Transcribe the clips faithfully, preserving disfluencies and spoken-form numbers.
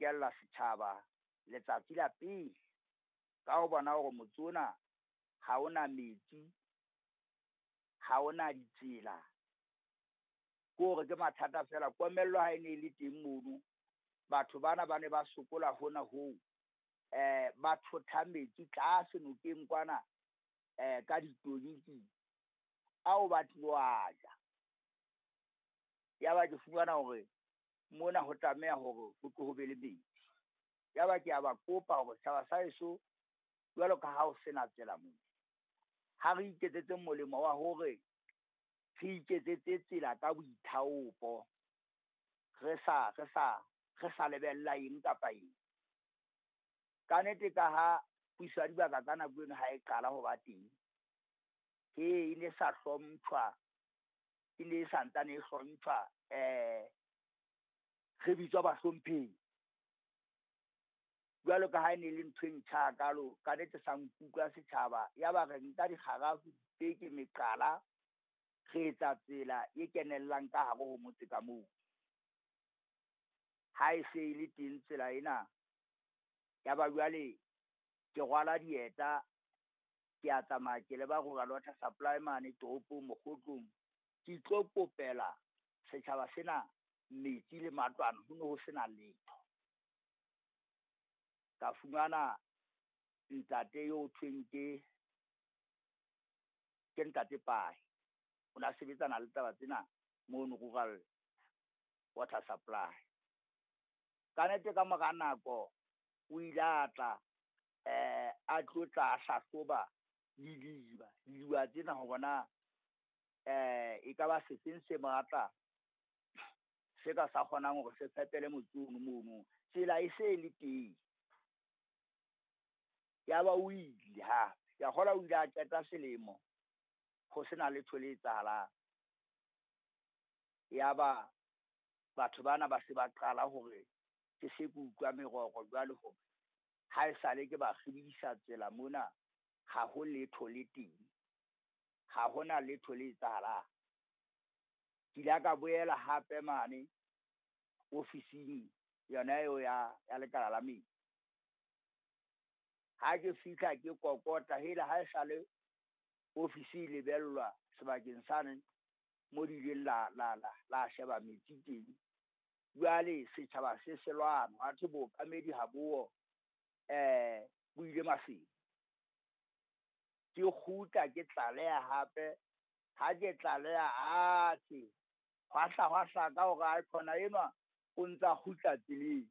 bokella setjhaba letsatsi la pele ka ho bona hore motse ona ha ona metsi, ha ona ditsela. Ke hore ke mathata fela, komello ha e ne e le teng mono, batho bana ba ne ba sokola hona hoo, eh ba thotha metsi tlase nokeng kwana eh ka ditonki ao ba tlilo a ja. Yaba ke fumana hore mona ho tlameha hore ho tlo ho be le metsi. Yaba ke a ba kopa hore setjhaba sa heso jwalo ka ha ho sena tsela mona, ha re iketsetse molemo wa hore re iketsetse tsela ka boithaopo, re sa re sa re sa lebella eng kapa eng. Ka nnete ka ha puso ya dibaka ka nako eno ha e qala ho ba teng, he e ne sa hlomphwa, e ne e santsane e hlomphwa, eh re bitswa bahlomphehi. Jwalo ka ha e ne le ntho e ntjha hakalo, ka nnete sa nkuka setjhaba, yaba re nka dikgarafu, dipeke, meqala, re etsa tsela e kenellang ka hare ho motse ka moo. Ha e se e le teng tsela ena, yaba jwale ke rwala dieta, ke a tsamaya ke leba Rural Water Supply mane toropong Mokgotlong, ke tlo kopela setjhaba sena metsi le matlwana, ho ne ho sena letho. Ka fumana ntate eo thweng ke ke ntate Pai, o na sebetsana le taba tsena mono Rural Water Supply. Ka nnete ka mora nako o ile a tla eh a tlo tla hlahloba didiba, didiba tsena hore na eh e ka ba sefeng se matla se ka sa kgonang hore se fepele motse ono mono, tsela e se le teng. Yaba o ile hape, ke a kgolwa o ile a qeta selemo ho sena letho le etsahalang. Yaba batho bana ba se ba qala hore ke se ke utlwa meroro jwale hore ha esale ke ba kgibidisa tsela mona, ha ho letho le teng, ha hona letho le etsahalang. Ke ile ka boela hape mane ofising yona eo ya ya lekala la metsi. Ha ke fihla ke kokota, hele ha esale ofisi e lebellwa sebakeng sane mo di ileng la la la la sheba metsi teng. Jwale setjhaba se se lwana, ha thwe bookamedi ha bo eh bo ile Maseru. Ke kgutla ke tlaleha hape, ha ke tlaleha atjhe, hwa hla hwa hlaka hore aekhona enwa o ntsa kgutla tseleng.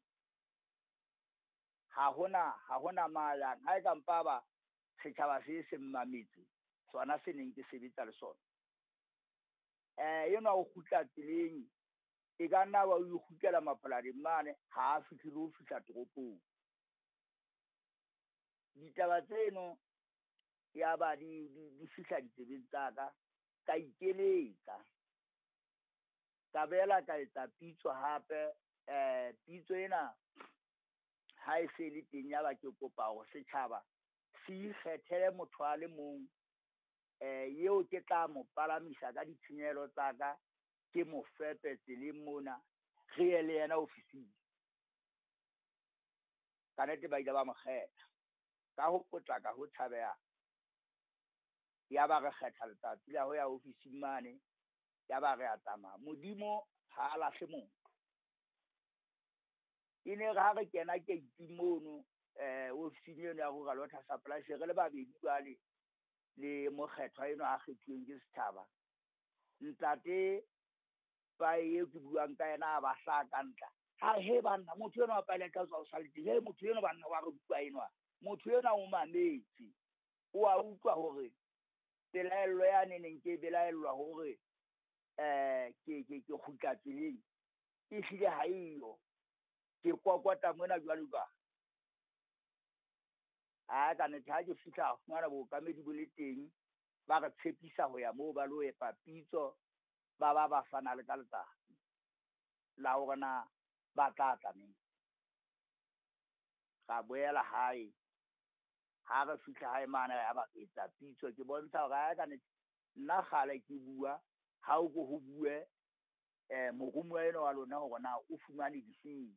Ha hona ha hona ma yang, ha e ka mpa ba setjhaba se se mmametse, sona se neng ke sebetsa le sona. Eh enwa o kgutla tseleng, e ka nna wa o ikgutlela mapolasing mane, ha a fihle le ho fihla toropong. Ditaba tseno yaba di di di fihla ditsebeng tsa ka, ka ikeletsa. Ka boela ka etsa pitso hape, eh pitso ena ha e se le teng yaba ke kopa hore setjhaba se ikgethele motho a le mong eh eo ke tla mo palamisa ka ditshenyehelo tsa ka, ke mo fepe tseleng mona, re ye le yena ofising. Ka nnete ba ile ba mo kgetha ka ho potlaka ho tshabeha. Yaba re kgetha letsatsi la ho ya ofising mane, yaba re a tsamaya. Modimo ha a lahle motho. E ne re ha re kena keiting mono eh ofising eno ya Rural Water Supply, se re le babedi jwale le mokgethwa enwa a kgethuweng ke setjhaba. Ntate Pai eo ke buang ka yena a ba hlaha ka ntla. Ha re, he banna, motho enwa wa Pai le tla tswa o sa le teng. He motho enwa banna wa re bua enwa. Motho enwa o mametse. O a utlwa hore pelaello yane neng ke belaellwa hore eh ke ke ke kgutla tseleng e hlile ha eyo. Ke kokota mona jwalo jwalo. Ha ka nnete ha ke fihla fumana bookamedi bo le teng, ba re tshepisa ho ya moo ba lo epa pitso, ba ba ba fana le ka letsatsi la hore na ba tla tla neng. Ra boela hae, ha re fihla hae mane ya ba etsa pitso, ke bontsha hore ha ka nnete nna kgale ke bua, ha o ko ho bue eh moromuwa enwa wa lona hore na o fumane difeng.